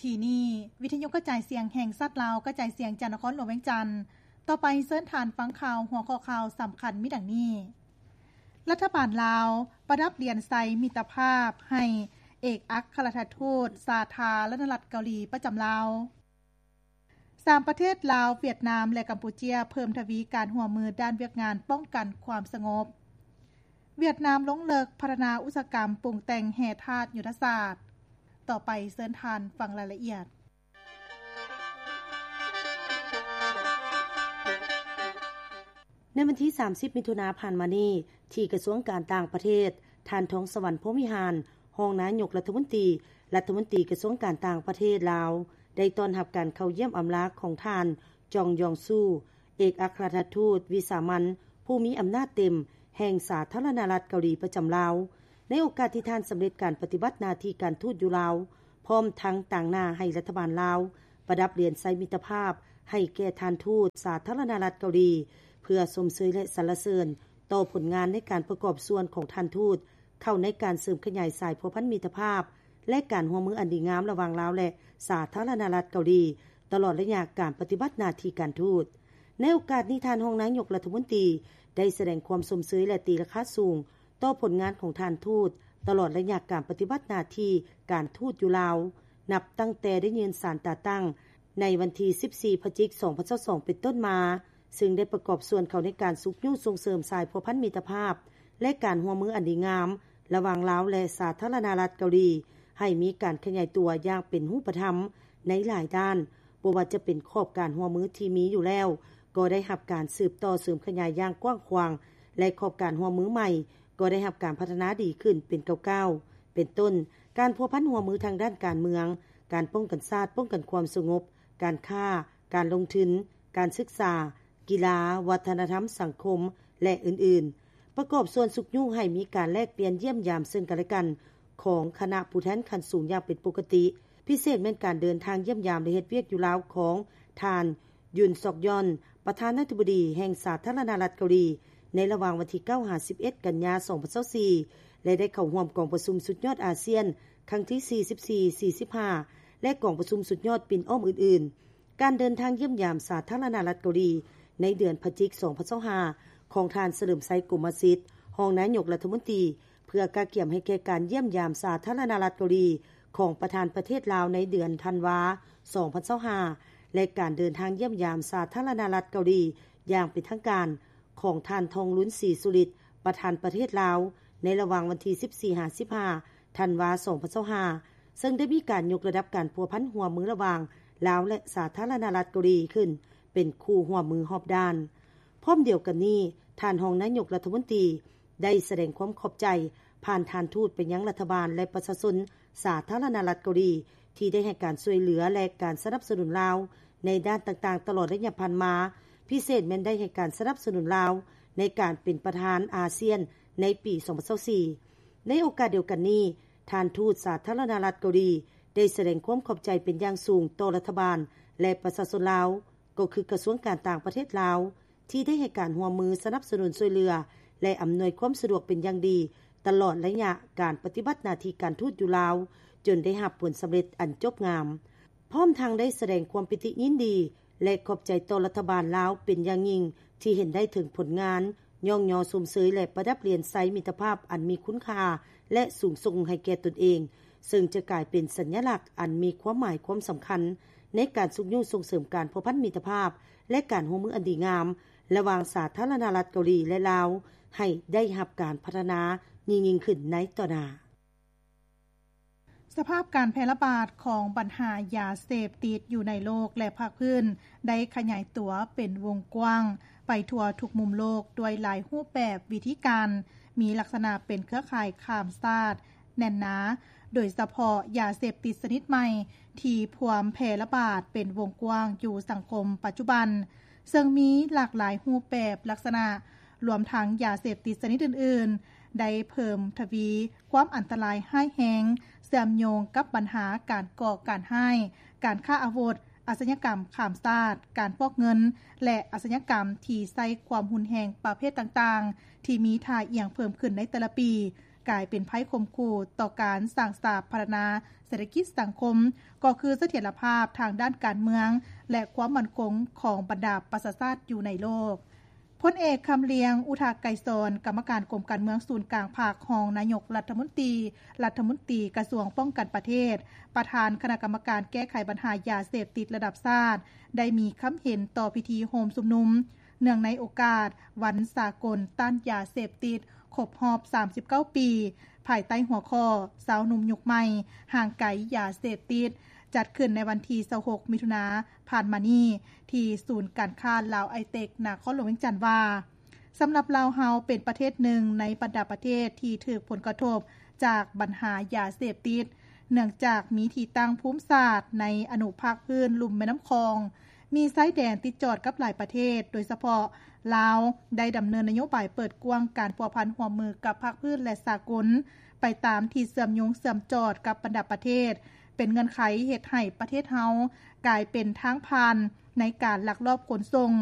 ທີ່ນີ້ ວິທະຍຸກະຈາຍສຽງແຫ່ງຊາດລາວ ກະຈາຍສຽງຈາກນະຄອນຫຼວງວຽງຈັນ. ຕໍ່ໄປເຊີນທ່ານຟັງຂ່າວ ຫົວຂໍ້ຂ່າວສຳຄັນມີດັ່ງນີ້: ລັດຖະບານລາວປະດັບຫຼຽນໄຊມິດຕະພາບໃຫ້ເອກອັກຄະລັດຖະທູດສາທາລະນະລັດເກົາຫຼີປະຈຳລາວ. ສາມປະເທດລາວ, ຫວຽດນາມ ແລະ ກຳປູເຈຍ ເພີ່ມທະວີການຮ່ວມມືດ້ານວຽກງານປ້ອງກັນຄວາມສະຫງົບ. ຫວຽດນາມລົງເລິກພັດທະນາອຸດສາຫະກຳປຸງແຕ່ງແຮ່ທາດຍຸດທະສາດ. ຕໍ່ໄປເຊີນທ່ານຟັງລາຍລະອຽດ. ໃນວັນທີສາມສິບ ມິຖຸນາຜ່ານມານີ້ ທີ່ກະຊວງການຕ່າງປະເທດ, ທ່ານ ທອງສະຫວັນ ພົມວິຫານ ຮອງນາຍົກລັດຖະມົນຕີ, ລັດຖະມົນຕີກະຊວງການຕ່າງປະເທດລາວ ໄດ້ຕ້ອນຮັບການເຂົ້າຢ້ຽມອຳລາຂອງທ່ານ ຈອງຢອງຊູ ເອກອັກຄະລັດຖະທູດວິສາມັນຜູ້ມີອຳນາດເຕັມແຫ່ງສາທາລະນະລັດເກົາຫຼີປະຈຳລາວ ໃນໂອກາດທີ່ທ່ານສຳເລັດການປະຕິບັດໜ້າທີ່ການທູດຢູ່ລາວ, ພ້ອມທັງຕາງໜ້າໃຫ້ລັດຖະບານລາວ ປະດັບຫຼຽນໄຊມິດຕະພາບໃຫ້ແກ່ທ່ານທູດສາທາລະນະລັດເກົາຫຼີ ເພື່ອຊົມເຊີຍ ແລະ ສັນລະເສີນຕໍ່ຜົນງານໃນການປະກອບສ່ວນຂອງທ່ານທູດ ເຂົ້າໃນການເສີມຂະຫຍາຍສາຍພົວພັນມິດຕະພາບ ແລະ ການຮ່ວມມືອັນດີງາມລະຫວ່າງລາວ ແລະ ສາທາລະນະລັດເກົາຫຼີ ຕະຫຼອດໄລຍະການປະຕິບັດໜ້າທີ່ການທູດ. ໃນໂອກາດນີ້, ທ່ານຮອງນາຍົກລັດຖະມົນຕີ ໄດ້ສະແດງຄວາມຊົມເຊີຍ ແລະ ຕີລາຄາສູງຕໍ່ຜົນງານຂອງທ່ານທູດ ຕະຫຼອດໄລຍະການປະຕິບັດໜ້າທີ່ການທູດຢູ່ລາວ, ນັບຕັ້ງແຕ່ໄດ້ຍື່ນສານຕາຕັ້ງໃນວັນທີສິບສີ່ ພະຈິກ ສອງພັນຊາວສອງ ເປັນຕົ້ນມາ, ເຊິ່ງໄດ້ປະກອບສ່ວນເຂົ້າໃນການຊຸກຍູ້ສົ່ງເສີມສາຍພົວພັນມິດຕະພາບ ແລະ ການຮ່ວມມືອັນດີງາມລະຫວ່າງລາວ ແລະ ສາທາລະນະລັດເກົາຫຼີ ໃຫ້ມີການຂະຫຍາຍຕົວຢ່າງເປັນຮູບປະທຳໃນຫຼາຍດ້ານ, ບໍ່ວ່າຈະເປັນຂອບການຮ່ວມມືທີ່ມີຢູ່ແລ້ວ ກໍໄດ້ຮັບການສືບຕໍ່ເສີມຂະຫຍາຍຢ່າງກວ້າງຂວາງ ແລະ ຂອບການຮ່ວມມືໃໝ່ກໍໄດ້ຮັບການພັດທະນາດີຂຶ້ນເປັນກ້າວໆ ເປັນຕົ້ນ ການພົວພັນຮ່ວມມືທາງດ້ານການເມືອງ, ການປ້ອງກັນຊາດ, ປ້ອງກັນຄວາມສະຫງົບ, ການຄ້າ, ການລົງທຶນ, ການສຶກສາ, ກິລາ, ວັດທະນະທຳ, ສັງຄົມ ແລະ ອື່ນໆ. ປະກອບສ່ວນຊຸກຍູ້ໃຫ້ມີການແລກປ່ຽນຢ້ຽມຢາມເຊິ່ງກັນແລະກັນຂອງຄະນະຜູ້ແທນຂັ້ນສູງຢ່າງເປັນປົກກະຕິ, ພິເສດແມ່ນການເດີນທາງຢ້ຽມຢາມ ແລະ ເຮັດວຽກຢູ່ລາວຂອງທ່ານ ຢຸນ ຊອກຢອນ ປະທານາທິບໍດີແຫ່ງສາທາລະນະລັດເກົາຫຼີ ໃນລະຫວ່າງວັນທີເກົ້າ ຫາ ສິບເອັດ ກັນຍາ ສອງພັນຊາວສີ່ ແລະ ໄດ້ເຂົ້າຮ່ວມກອງປະຊຸມສຸດຍອດອາຊຽນຄັ້ງທີສີ່ສິບສີ່ ສີ່ສິບຫ້າ ແລະ ກອງປະຊຸມສຸດຍອດປິ່ນອ້ອມອື່ນໆ. ການເດີນທາງຢ້ຽມຢາມສາທາລະນະລັດເກົາຫຼີໃນເດືອນພະຈິກ ສອງພັນຊາວຫ້າ ຂອງທ່ານ ສະເຫຼີມໄຊ ກົມມະສິດ ຮອງນາຍົກລັດຖະມົນຕີ ເພື່ອກະກຽມໃຫ້ແກ່ການຢ້ຽມຢາມສາທາລະນະລັດເກົາຫຼີຂອງປະທານປະເທດລາວໃນເດືອນທັນວາ ສອງພັນຊາວຫ້າ ແລະ ການເດີນທາງຢ້ຽມຢາມສາທາລະນະລັດເກົາຫຼີຢ່າງເປັນທາງການຂອງທ່ານ ທອງລຸນ ສີສຸລິດ ປະທານປະເທດລາວ ໃນລະຫວ່າງວັນທີສິບສີ່ ຫາ ສິບຫ້າ ທັນວາ ສອງພັນຊາວຫ້າ ເຊິ່ງໄດ້ມີການຍົກລະດັບການພົວພັນຮ່ວມມືລະຫວ່າງລາວ ແລະ ສາທາລະນະລັດເກົາຫຼີຂຶ້ນເປັນຄູ່ຮ່ວມມືຮອບດ້ານ. ພ້ອມດຽວກັນນີ້, ທ່ານຮອງນາຍົກລັດຖະມົນຕີ ໄດ້ສະແດງຄວາມຂອບໃຈຜ່ານທ່ານທູດໄປຍັງລັດຖະບານ ແລະ ປະຊາຊົນສາທາລະນະລັດເກົາຫຼີ ທີ່ໄດ້ໃຫ້ການຊ່ວຍເຫຼືອ ແລະ ການສະໜັບສະໜູນລາວໃນດ້ານຕ່າງໆຕະຫຼອດໄລຍະຜ່ານມາ, ພິເສດແມ່ນໄດ້ໃຫ້ການສະໜັບສະໜູນລາວໃນການເປັນປະທານອາຊຽນໃນປີສອງພັນຊາວສີ່. ໃນໂອກາດດຽວກັນນີ້, ທ່ານທູດສາທາລະນະລັດເກົາຫຼີ ໄດ້ສະແດງຄວາມຂອບໃຈເປັນຢ່າງສູງຕໍ່ລັດຖະບານ ແລະ ປະຊາຊົນລາວ, ກໍຄືກະຊວງການຕ່າງປະເທດລາວ ທີ່ໄດ້ໃຫ້ການຮ່ວມມືສະໜັບສະໜູນຊ່ວຍເຫຼືອ ແລະ ອຳນວຍຄວາມສະດວກເປັນຢ່າງດີ ຕະຫຼອດໄລຍະການປະຕິບັດໜ້າທີ່ການທູດຢູ່ລາວ ຈົນໄດ້ຮັບຜົນສຳເລັດອັນຈົບງາມ. ພ້ອມທັງໄດ້ສະແດງຄວາມປີຕິຍິນດີ ແລະ ຂອບໃຈຕໍ່ລັດຖະບານລາວເປັນຢ່າງຍິ່ງ ທີ່ເຫັນໄດ້ເຖິງຜົນງານ ຍ້ອງຍໍຊົມເຊີຍ ແລະ ປະດັບຫຼຽນໄຊມິດຕະພາບອັນມີຄຸນຄ່າ ແລະ ສູງສົ່ງໃຫ້ແກ່ຕົນເອງ, ເຊິ່ງຈະກາຍເປັນສັນຍະລັກອັນມີຄວາມໝາຍຄວາມສຳຄັນ ໃນການຊຸກຍູ້ສົ່ງເສີມການພົວພັນມິດຕະພາບ ແລະ ການຮ່ວມມືອັນດີງາມ ລະຫວ່າງສາທາລະນະລັດເກົາຫຼີ ແລະ ລາວ ໃຫ້ໄດ້ຮັບການພັດທະນາຍິ່ງໆຂຶ້ນໃນຕໍ່ໜ້າ. ສະພາບການແຜ່ລະບາດຂອງບັນຫາຢາເສບຕິດຢູ່ໃນໂລກ ແລະ ພາກພື້ນ ໄດ້ຂະຫຍາຍຕົວເປັນວົງກວ້າງໄປທົ່ວທຸກມຸມໂລກ ດ້ວຍຫຼາຍຮູບແບບ, ວິທີການ, ມີລັກສະນະເປັນເຄືອຂ່າຍຂ້າມຊາດແໜ້ນໜາ, ໂດຍສະເພາະຢາເສບຕິດຊະນິດໃໝ່ທີ່ພວມແຜ່ລະບາດເປັນວົງກວ້າງຢູ່ສັງຄົມປັດຈຸບັນ, ເຊິ່ງມີຫຼາກຫຼາຍຮູບແບບ, ລັກສະນະ, ລວມທັງຢາເສບຕິດຊະນິດອື່ນໆ ໄດ້ເພີ່ມທະວີຄວາມອັນຕະລາຍຮ້າຍແຮງ, ເຊື່ອມໂຍງກັບບັນຫາການກໍ່ການຮ້າຍ, ການຄ້າອາວຸດ, ອາຊະຍາກຳຂ້າມຊາດ, ການຟອກເງິນ ແລະ ອາຊະຍາກຳທີ່ໃຊ້ຄວາມຮຸນແຮງປະເພດຕ່າງໆ ທີ່ມີທ່າອ່ຽງເພີ່ມຂຶ້ນໃນແຕ່ລະປີ, ກາຍເປັນໄພຂົ່ມຂູ່ຕໍ່ການສ້າງສາພັດທະນາເສດຖະກິດສັງຄົມ ກໍຄືສະຖຽນລະພາບທາງດ້ານການເມືອງ ແລະ ຄວາມໝັ້ນຄົງຂອງບັນດາປະຊາຊາດຢູ່ໃນໂລກ. ພົນເອກ ຄຳລຽງ ອຸທາໄກສອນ ກຳມະການກົມການເມືອງສູນກາງພັກ, ຮອງນາຍົກລັດຖະມົນຕີ, ລັດຖະມົນຕີກະຊວງປ້ອງກັນປະເທດ, ປະທານຄະນະກຳມະການແກ້ໄຂບັນຫາຢາເສບຕິດລະດັບຊາດ ໄດ້ມີຄຳເຫັນຕໍ່ພິທີໂຮມຊຸມນຸມ ເນື່ອງໃນໂອກາດວັນສາກົນຕ້ານຢາເສບຕິດ ຄົບຮອບສາມສິບເກົ້າປີ ພາຍໃຕ້ຫົວຂໍ້ ຊາວໜຸ່ມຍຸກໃໝ່ ຫ່າງໄກຢາເສບຕິດ ຈັດຂຶ້ນໃນວັນທີຊາວຫົກ ມິຖຸນາ ຜ່ານມານີ້ ທີ່ສູນການຄ້າລາວໄອເຕັກ ນະຄອນຫຼວງວຽງຈັນ ວ່າ ສຳລັບລາວເຮົາເປັນປະເທດໜຶ່ງໃນບັນດາປະເທດທີ່ຖືກຜົນກະທົບຈາກບັນຫາຢາເສບຕິດ ເນື່ອງຈາກມີທີ່ຕັ້ງພູມສາດໃນອະນຸພາກພື້ນລຸ່ມແມ່ນ້ຳຂອງ, ມີຊາຍແດນຕິດຈອດກັບຫຼາຍປະເທດ, ໂດຍສະເພາະລາວໄດ້ດຳເນີນນະໂຍບາຍເປີດກວ້າງການພົວພັນຮ່ວມມືກັບພາກພື້ນ ແລະ ສາກົນ ໄປຕາມທີ່ເຊື່ອມໂຍງເຊື່ອມຈອດກັບບັນດາປະເທດ, ເປັນເງື່ອນໄຂເຮັດໃຫ້ປະເທດເຮົາກາຍເປັນທາງຜ່ານໃນການລັກລອບຂົນສົ່ງ